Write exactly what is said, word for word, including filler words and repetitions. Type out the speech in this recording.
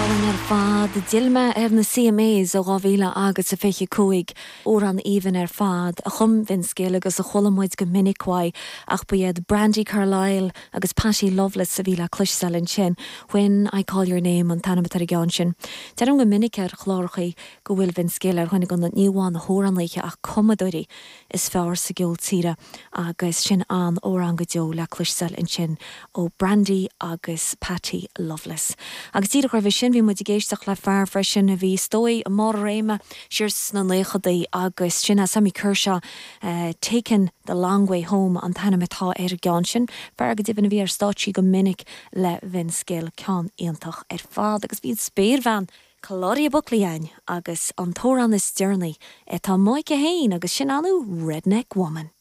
Álainn ar fad d'fhill mé ar na CMAs ó dhá mhíle agus a fiche cúig amhrán aoibhinn ar fad a chum Vince Gill agus a chuala muid go minic uaidh ach ba iad Brandi Carlile agus Patty Loveless a bhí le cloisteáil ansin When I Call Your Name an t-ainm atá ar an gceann sin. Deirim go minic ar chláracha go bhfuil Vince Gill ar dhuine de na ní amháin na hamhránaithe ach cumadóirí is fearr sa gceol tíre agus sin an-amhrán go deo le cloisteáil ansin ó Brandi agus Patty Loveless. Agus díreach roimhe sin bhí muid ag éisteacht le fear freisin a bhí is dóigh i mbarr a réime siar sna naochadaí agus sin é Sammy Kershaw uh, Taken the Long Way Home an t-ainm atá ar an gceann sin, fear go deimhin a bhí ar stáitsí go minic le Vince Gill ceann iontach ar fad agus bhí spéirbhean Claudia Buckley ann agus an t-amhrán is deireanaí atá aici féin agus sin anu Redneck Woman.